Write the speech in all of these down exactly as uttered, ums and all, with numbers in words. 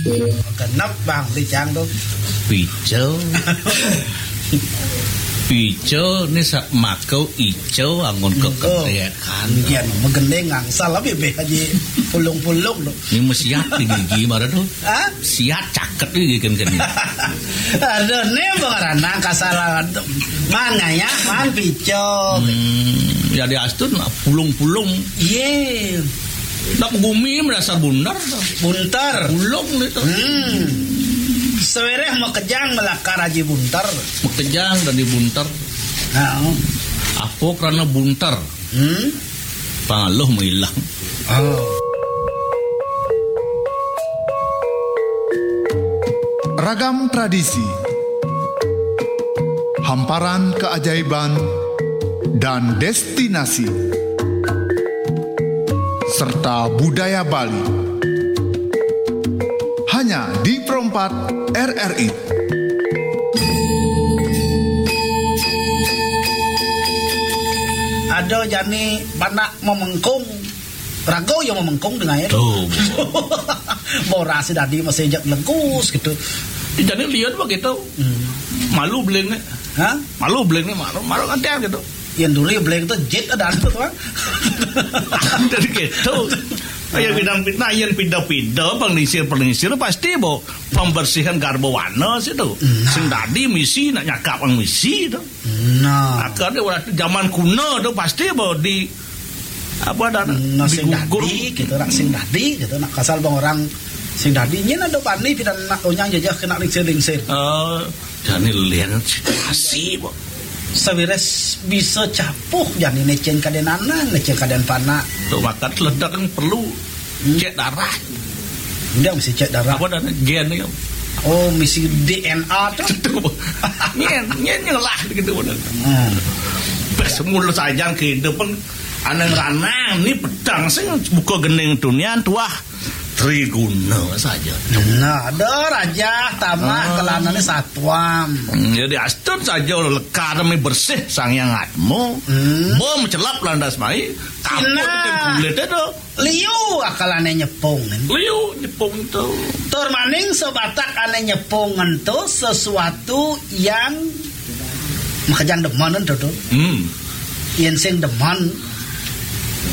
Genep, Bang, di cang tu. Pica. Pica ni sa-, maka ica anggon kekedek kan. Nggih, magending angsal lah bibih aja pulung-pulung tu. Ni mesiat di gigi mara tu. Ha? Siat caket di gigi kan, kan. Aduh, ni pengeranang kasar. Man ngayah, man pica. Hmm, ya di astun lah, pulung-pulung. Ye. Nak gumi merasa bundar. Buntar. Pulung ni tu. Hmm. Sewereh makejang melakar aji buntar. Makejang dan dibuntar. Ha. Apa kerana buntar? Hmm. Pangaluh mailang. Oh. Ragam tradisi, hamparan keajaiban, dan destinasi, serta budaya Bali. Hanya di Perempat R R I. Ada jani panak memengkung. Raga ya memengkung dengan itu. Tu. Boras dadi masih jak legus gitu. Jadi lihat begitu. Hmm. Malu beling ni. Ha? Malu beling ni, malu, malu ngantian gitu. Yang duri beling tu jit ada tu, kan? Jadi gitu. Ya, bidang fitnah, yang pindah-pindah, pengisir-pengisir, pasti bawa pembersihan garba wana situ. Nah. Sing dadi misi, nak nyakap orang misi tu. Nah. Akhirnya, waktu zaman kuno tu, pasti bawa di, apa dah, nah, sing digugur. Dadi, gitu, nak sing dadi, gitu, nak kasal bang orang sing dadi. Nyen ada bani, pindah nak onyang jajah kena lingsir-lingsir. Eh, jani lian situasi, bawa. Sawires bisa capuh jani necen kaden anang, necen kaden panak. Tu makan teledak kan perlu. Hmm. Cek darah. Dia mesti cek darah. Apa dah gen ni? Oh, mesti D N A tu. Tentu. Nyen, nyen nyelah gitu benar. Hmm. Pas mula sajan kehidupan anang ranang ni petang sing buka gening tunian tuah triguna saja. Nah, ada raja tamah kelana ni satuam. Hmm, jadi astun saja lekar mi bersih sang yang atmu. Hmm. Bom celap landas mai. Kaput kulit itu. Liu akalane nyepung, kan? Liu nyepung tu. Tur maning sebatak ane nyepung tu sesuatu yang makejang demen tu, tu. Hmm. Yen sing demen.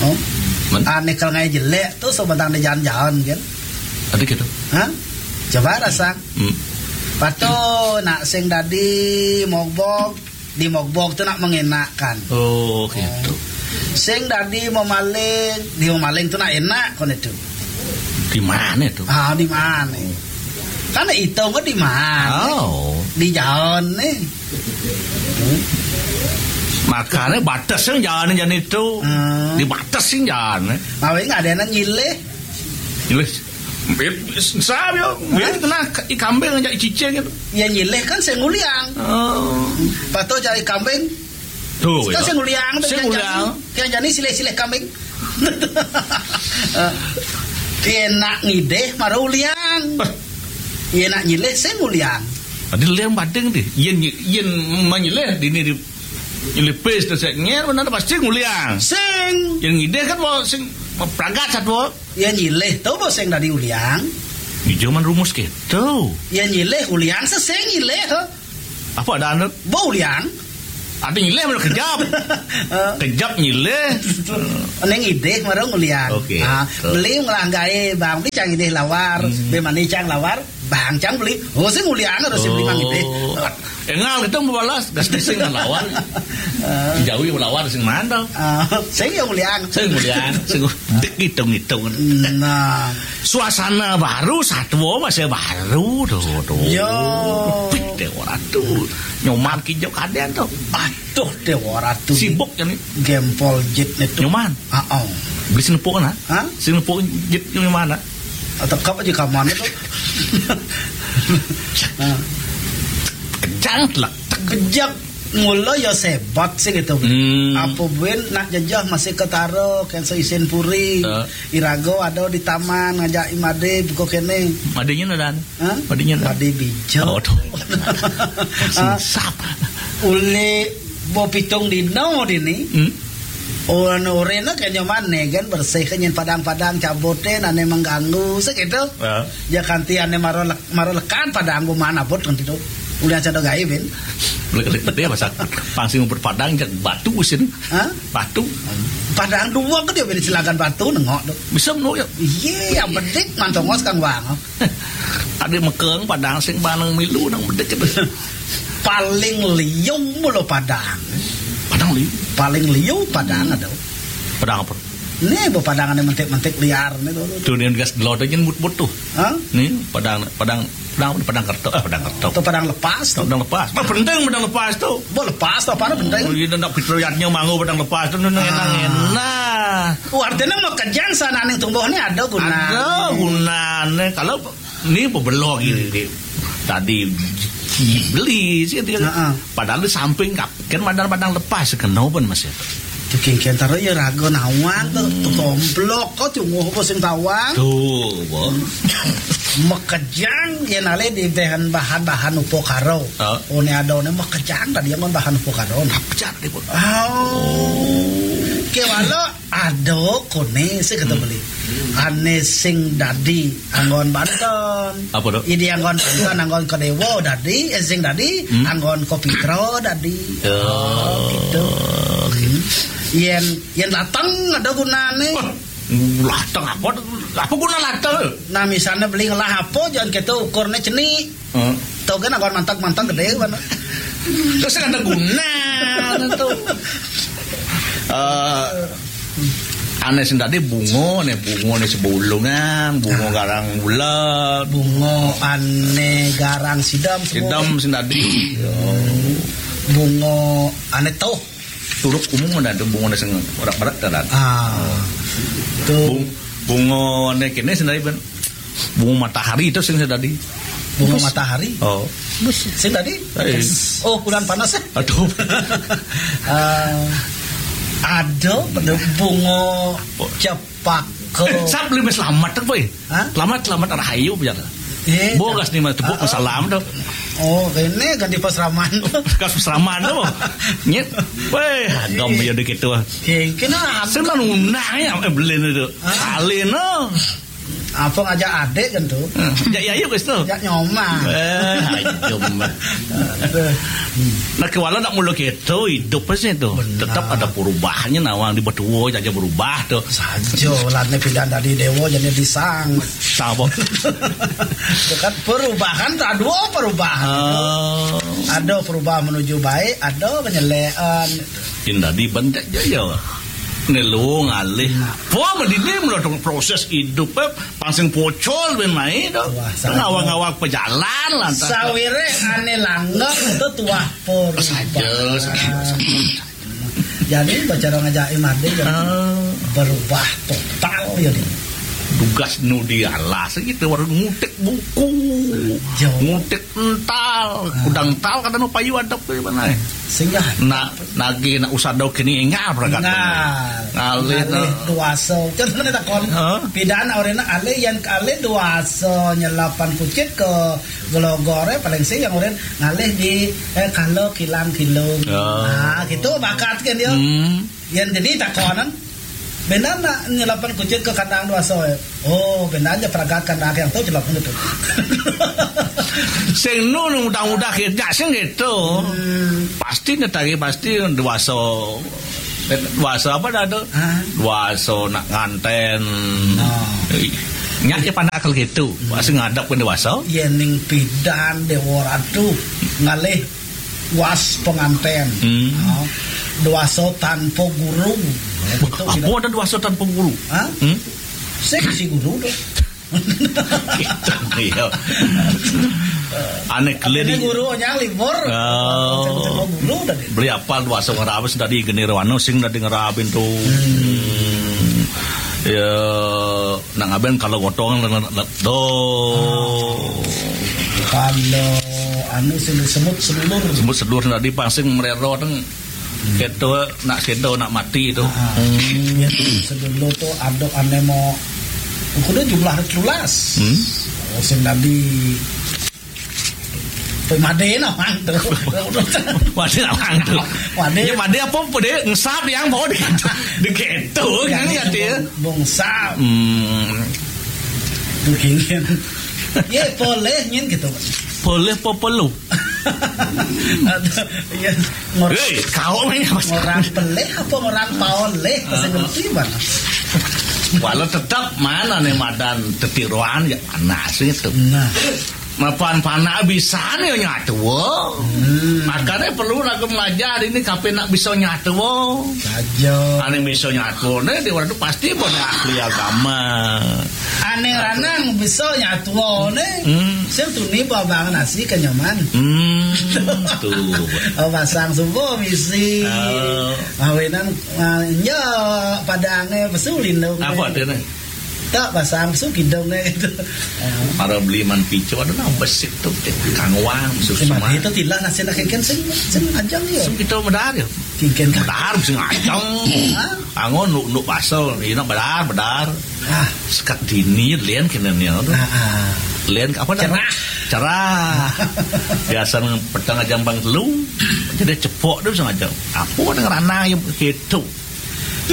Oh. Ane kal ngai jelek tu sebatak ne jalan-jalan, kan? Ada gitu. Ha? Coba rasa. Hmm. Patu nak sing dadi mogbog di mogbog tu nak mengenakan. Oh, gitu. Sing dadi memaling, di memaling tu nak enak kon itu. Di mana tu? Ah, di mana? Kan itu kok di mana? Oh. Di jalan ni. Makanya batas yang jalan, jalan itu. Hmm. Di batas yang jalan. Awalnya ada yang nyilih. Nyilih. Sabi, kena i kambing aja cicing gitu. Ya nyilih kan sing nguliang. Oh. Patu cari kambing. Tu, kan ya. Sing nguliang tu sing nguliang. Yang jani silih-silih kambing. Dia nak ngidih mara uliang. Dia nak nyilih sing nguliang. Ada liang badeng deh. Yen yen manyilih dini di nyilih pes tu sek nyer mana pasti nguliang. Sing. Yang ngidih kan mau sing pragat satu. Ya nyilih tu bos sing dadi uliang. Ijo man rumus gitu. Ya nyilih uliang sesing nyilih tu. Apa ada anu? Bo uliang. Ada nyilih mana kejap. Kejap nyilih. Neng idih marung uliang. Okey. Ah, beli ngelah gae bang, beli cang idih lawar, hmm. Be mani cang lawar, bang cang beli. Oh sing uliang harus beli mang idih. Engal kita membalas, gas bising kan lawan. Jauh yang lawan sing mana? Ah, sing yang uliang. Sing uliang, sing dek hitung-hitung. Nah, suasana baru, satwa masih baru tu tu. Yo. Pik deh orang tu. Nyoman kijau kaden tu. Aduh deh orang tu. Sibuk kan ni. Gempol jit ni tu. Nyoman. Ah, oh. Beli senepuk kan? Ha? Senepuk jit nyoman. Atau kap aja kaman tu. Kejang lah. Kejak mula ya sebat sih gitu. Hmm. Apa buin nak jajah masih ketara kan isin puri. Uh. Irago ada di taman ngajak imade buka kene. Madenya nadan. Ha? Madenya nadan. Made bija. Oh, tu. Sap. Uli bo pitung dino dini. Hmm. Oh, anu, orena kaya nyaman né kan, bersih kan, nyén padang-padang cabutin, ané mengganggu, sakitu. Ya. Ya, kanti ané maro lek-, maro lekan padang, kumaha abot kanti to. Ulian sada gaé, bin. Lek-lek gedé masa pang sing ngumpet padang, jak batu sini. Hah? Batu. Padang dua gedé, bin, silakan batu, nengok to. Bisa menurut ya. Iya, yang bedik, mantongos kang bang. Ada mekeng padang sing paneng milu nang bedik itu. Paling liu mulu padang. Padang liu. Paling liu padang ada. Padang apa? Nih, bu padang ada mentik-mentik liar nih tuh. Tuh, nih gas delod aja mut-mut tuh. Hah? Nih, padang, padang, padang apa? Padang kerto, eh, padang kerto. Atau padang lepas tuh. Padang lepas. Bah, penting padang lepas tuh. Bu lepas tuh, apa penting? Oh, iya, nak pitrayatnya manggo padang lepas tuh, nih, enak, enak. Oh, artinya mau kejang sana nih tumbuh nih ada guna. Ada gunanya. Kalau ini bebelok ini, nih. Tadi beli sih dia. Heeh. Padahal di samping kap-, kan padang-padang lepas, kenapa, Mas, ya? Tuh kengken taruh ya raga nawang tuh, tuh tomplok kok cunguh apa sing tawang. Tuh, bo. Mekejang ya nale di bahan-bahan upakara. Heeh. Oh, ini ada ini mekejang tadi yang bahan upakara. Pecah deh, bo. Oh. Kewala ada koné sing kata beli. Ané sing dadi anggon banten. Apa to? Idi anggon banten, anggon ka déwa dadi, eh, sing dadi anggon ka pitra dadi. Oh, gitu. Yén, yén lateng ada gunané. Wah, lateng apa? Apa guna lateng? Nah, misalnya beli ngelah apa, jangan kita ukurnya cenik. Heeh. Tuh kan anggon mantag-mantag gedé mana. Terus kan ada guna tuh. Eh, ané sing dadi bunga né, bunga né sebulungan, bunga garang bulan. Bunga ané garang sidam. Sidam sing dadi. Bunga ané tuh. Turuk umum ada tuh bunga né sing berat-berat kan. Ah. Tuh. Bung-, bunga ané kéné sing dadi, ben. Bunga matahari itu sing dadi. Bunga matahari? Oh. Sing dadi? Eh. Oh, bulan panas ya? Aduh. Eh, ada pada bunga cempaka. Eh, sab lebih selamat apa ya? Hah? Selamat, selamat rahayu biar. Eh, bogas nih mah tepuk salam tuh. Oh, ini ganti pasraman. Kas pasraman tuh. Nyet. Wéh, agam ya dikit tuh. Kena. Sing nunah ya, eh, beli itu. Hah? Alin, no. Apa ngajak adik kan tuh? Ya, ya, yuk, guys, tuh. Ya, nyoma. Eh, ayo, mah. Nah, kewala nak mulu gitu, hidup pasti tuh. Benar. Tetap ada perubahannya, nawang di betua aja berubah tuh. Saja, latne pindah dari dewa jadi disang. Sama. Dekat perubahan, ada dua perubahan. Oh. Ada perubahan menuju baik, ada penyelean. Indah di bentek jaya. Né lu ngalih. Apa medine mula proses hidup, eh, pang sing pocol ben mai to. Wah, sangat. Ngawang-ngawang pejalan lah. Sawire ane langgeng itu tuah pur. Saja, saja, saja. Jadi bacara ngajak Imade ya. Ah. Berubah total ya dia. Tugas nu di alas gitu, baru ngutik buku. Jauh. Ngutik ental, kudang ental kada nu payu adep ke mana. Sehingga nak nagih nak usah dau kini enggak berangkat. Ngalih, ngalih, no. Duasa. Contohnya takon. Hah? Pidana orena alih yang alih duasa nyelapan kucit ke gelogore paling sih yang oren ngalih di, eh, kalau kilang kilung. Oh. Nah, gitu bakat kan dia. Hmm. Yang jadi takonan. Benar nak nyelapan kucit ke kandang duasa. Oh, benar aja peragakan dah yang tahu celok gitu. Sing nu nu udah-udah kerja sing gitu. Hmm. Pasti netari pasti dewasa. Dewasa apa dah tu? Hah? Dewasa nak nganten. Nah. Nyak ya panak akal gitu. Hmm. Pasti ngadap kan dewasa. Ya ning pidan dewa ratu ngalih was penganten. Hmm. Nah, dewasa tanpa guru. Ya, gitu, apa tidak ada dewasa tanpa guru? Hah? Hmm? Sing si guru tu. Gitu, iya. Aneh kelir. Ini guru nyang libur. Oh. Guru tadi. Beli apa dewasa ngerabis tadi genir wano sing tadi ngerabin tu. Hmm. Ya, nang aben kalau gotong do. Kalau anu sing semut sedulur. Semut sedulur tadi pang sing merero teng. Keto nak keto nak mati tu. Ah, hmm. Ya, sedulur tu ada ane mau kudu jumlah tulas. Hmm. Oh, sing tadi. Made nawang tu. Made nawang tu. Made. Ya, made apa pun dia ngesap yang bawa di, di keto kan ya dia. Bungsap. Hmm. Begini. Ya, boleh nyin gitu. Boleh apa perlu? Ya, ngor- Hei, kau main apa? Orang peleh apa orang paoleh? Saya ngerti mana. Walau tetap mana nih madan tetiruan ya panas itu. Nah. Mapan panak bisa nih nyatu. Hmm. Makanya perlu lagu belajar ini kape nak bisa nyatu. Saja. Ane bisa nyatu nih di waktu pasti pada ahli agama. Ane ranang bisa nyatu nih. Hmm. Sing tuni babang nasi kenyaman. Hmm. Tuh. Oh, pasang subuh misi. Oh. Awenan, ah, nya padangnya pesulin dong. Apa tuh nih? Tak pasang su kidung eh itu. Para beli man picu ada nang besik tu kangwang su semua. Itu tilah nasi nak kengken sing sing ajang ya. Sing kita medar ya. Kengken kan. Medar sing ajang. Angon nuk nuk basel, ini bedar bedar. Ah, sekat dini lian kena ni tu. Ah, ah. Lian apa dah? Cerah. Cerah. Biasa nang petang ajang bang telu. Jadi cepok tu sing ajang. Apa dengan ranah yang gitu?